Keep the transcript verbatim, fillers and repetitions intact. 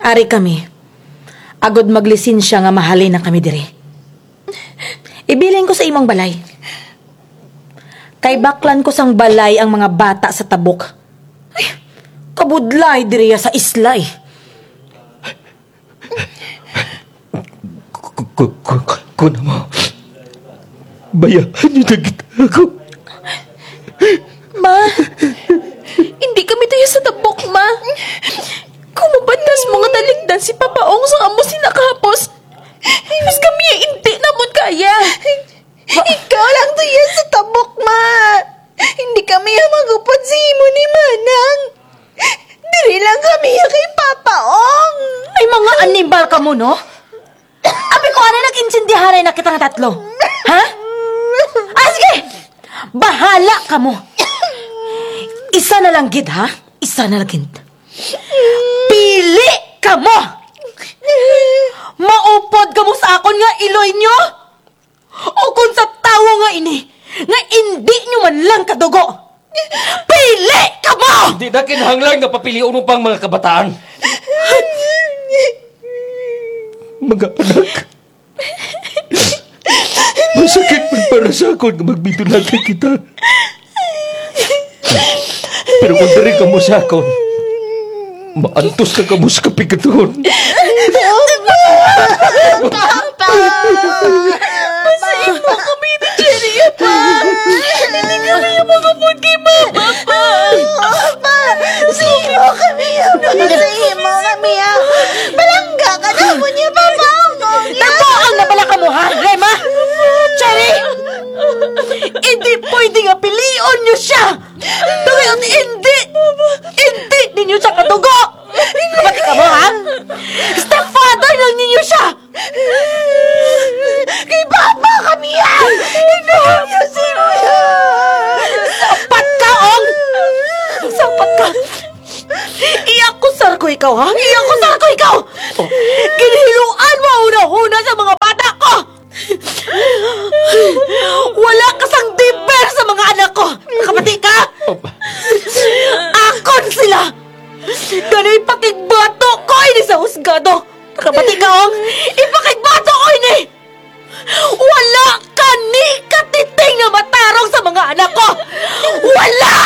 Ari kami. Agud maglisensya nga mahalin na kami diri. Ibilin ko sa imo ang balay. Kay baklan ko sang balay ang mga bata sa tabok. Ay, kabudlay diri sa isla, eh. Ku-, ku-, ku-, ku-, kuon mo. Bayaan n'yo na kita, ako. Ma, indi kami tuya sa tabok, ma. Kon mabatas mo nga talikdan si Papa Ong sang amo sina kahapos, mas kami indi namon kaya. Ikaw lang tuya sa tabok, ma. Indi kami ang mag-upod sa imo ni Manang. Diri lang kami kay Papa Ong. Ay, mga animal kamo, no? Abi ko, anay nag-intindihan na kita nga tatlo. Ha? Ah, sige! Bahala kamo. Isa na lang gid, ha? Isa na lang gid. Pili kamo! Maupod kamo sa akon nga iloy n'yo? O kon sa tawo nga ini, nga indi n'yo man lang kadugo, pili kamo! Indi na kinahanglan nga papilion mo pa ang mga kabataan. Mga anak, masakit man para sa akon nga magbidulagay kita. Pero kon diri kamo sa akon, maantos na kamo sa kapigatuhon. Papa! Papa! Pasayloa kami ni Cherry, Pa! Indi kami ang mag-upod kay Mama, Pa! Papa! Pasayloa kami, Pa! Pasayloa kami, ah! Palangga ka namon niya, Papa! Amo niya! Nagbuang na bala kamo, ha? Rema? Cherry! Indi pwede nga pilion n'yo siya! Tungod indi, indi ninyo siya kadugo! Kabati kamo, ha? Stepfather lang ninyo siya! Kay Papa kami yan! Indi ninyo siya! Sapat ka, Ong! Sapat ka! Iyakusar ko ikaw, ha? Iyakusar ko ikaw! Ginhiluan mo hunahuna sa mga bata ko! Wala ka sang deber sa mga anak ko! Nakabati ka? Opo. Akon sila! Danay pakigbato ko ini sa husgado! Nakabati